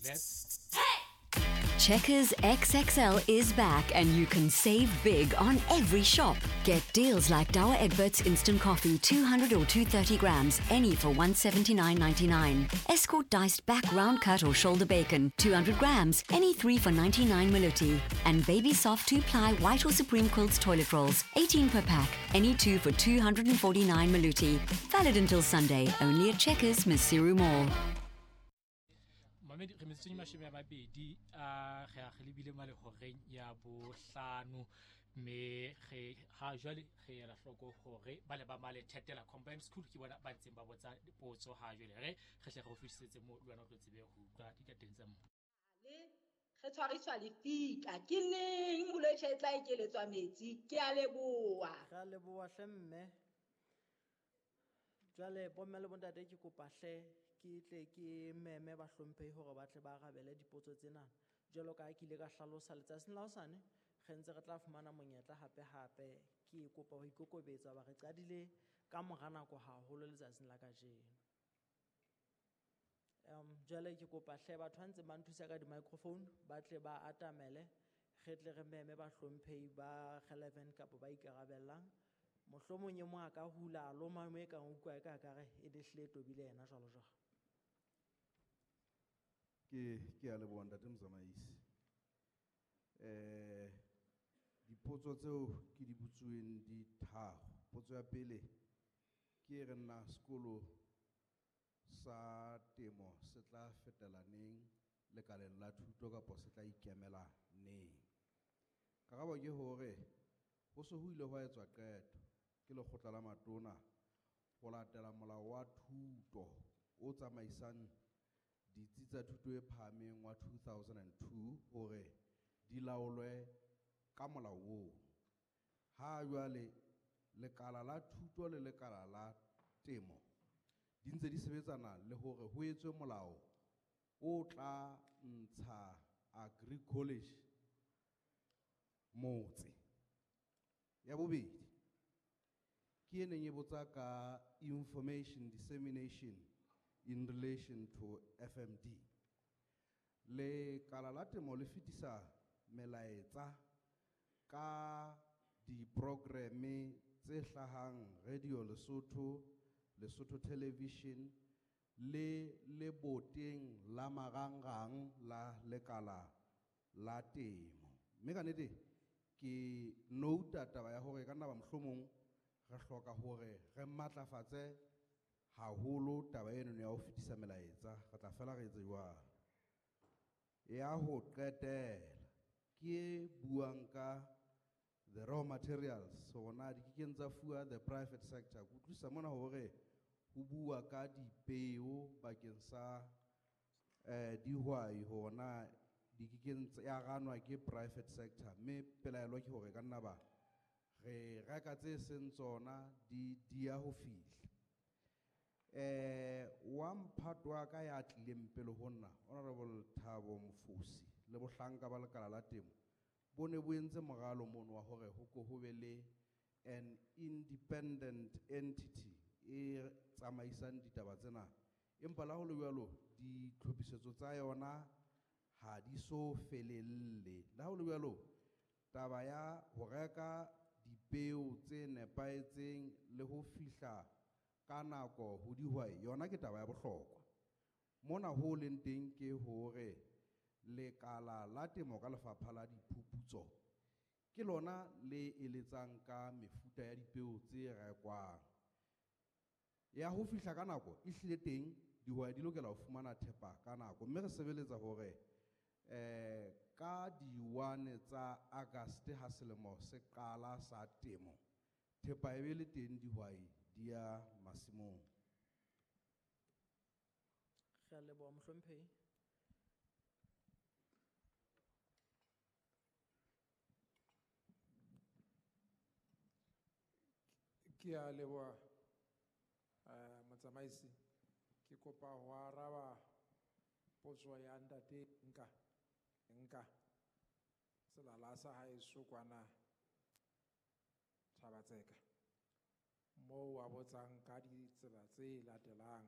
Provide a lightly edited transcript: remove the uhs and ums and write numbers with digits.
Let's Checkers XXL is back and you can save big on every shop. Get deals like Douwe Egberts Instant Coffee, 200 or 230 grams, any for 179.99. Escort diced back round cut or shoulder bacon, 200 grams, any 3 for 99 Maluti. And Baby Soft 2-ply white or Supreme Quilts toilet rolls, 18 per pack, any 2 for 249 Maluti. Valid until Sunday, only at Checkers, Maseru Mall. Mamedi re metsotsong e 20 a re a re lebile malehoreng ya bohlano, mme re ha jwale re ela hloko hore ba le ba male Thetela Combined School ke bona ba ntseng ba botsa dipotso ha jwale. Re hle re o fetisetse mo le wena o tlo tsebe ho utlwa ditateng tsa mo. Le re tshwariswa lefika ke neng bolwetse e tla ekeletswa metsi? Ke a leboha. Re a leboha hle mme. Jwale bomme le bontate ke kopa hle ke tle ke meme bahlomphehi hore ba tle ba arabele dipotso tsena. Jwalo ka ha ke ile ka hlalosa letsatsing la hosane, re ntse re tla fumana monyetla hape hape. Ke kopa ho ikokobetsa hoba re qadile ka mora nako haholo letsatsing la kajeno. Jwale ke kopa hle batho ba ntseng ba nthusa ka di-microphone ba tle ba atamele, re tle re meme bahlomphehi ba relevant kapa ba ikarabellang. Mohlomong e mong a ka hula a loma mo e kang utlwa e ka kare e le hlile e tobile yena jwalo jwalo. Ke a leboha ntate motsamaisi. Dipotso tseo ke di botsuweng di tharo. Potso ya pele ke e re na sekolo sa temo se tla fetela neng lekaleng la thuto kapa se tla ikemela neng? Karabo ke hore ho se ho ile hwa etswa qeto ke lekgotla la matona ho latela molao wa thuto o tsamaisang ditsi tsa thuto e phahameng wa 2002 hore di laolwe ka molao oo. Ha jwale lekala la thuto le lekala la temo di ntse di sebetsana le hore ho etswe molao o tla ntsha Agri College motse. Ya bobedi ke e neng e botsa ka information dissemination in relation to FMD. Lekala la temo le fetisa melaetsa ka diprogramme tse hlahang Radio Lesotho, Lesotho Television le leboteng la marangrang la lekala la temo. Mme ka nnete ke nouta taba ya hore ka nna ba mohlomong re hloka hore re matlafatse haholo taba eno ya ho fetisa melaetsa, re tla fela re etse jwalo. Ya ho qetela ke e buang ka the raw materials, hore na di kekeng tsa fuwa the private sector. Ke utlwisisa mona hore ho bua ka dipeo bakeng sa dihwai hore na di kekeng tsa ya ranwa ke private sector, mme pelaelo ke hore ka nna ba re reka tse seng tsona di dia ho fihla. Wa mphato wa ka ya tlileng pele ho nna, Honorable Thabo Mfosi le bohlanka ba lekala la temo bo ne bo entse moralo mono wa hore ho ko ho be le an independent entity e tsamaisang ditaba tsena, empa la ho le jwalo ditlhophisetso tsa yona ha di so felelle. Le ha ho le jwalo taba ya ho reka dipeo tse nepahetseng le ho fihla ka nako ho dihwai yona ke taba ya bohlokwa. Mona ho leng teng ke hore lekala la temo ka lefapha la diphuputso ke lona le eletsang ka mefuta ya dipeo tse rekwang. Ya ho fihla ka nako e hlile teng, dihwai di lokela ho fumana thepa ka nako, mme re sebeletsa hore ka di-1 tsa August ha selemo se qala sa temo, thepa e be le teng dihwai di ya masimong. Re a leboha mohlomphehi. Ke a leboha, motsamaisi. Ke kopa ho araba potso ya ntate Nka selala sa haeso kwana Thabatseka, moo a botsang ka ditsela tse latelang.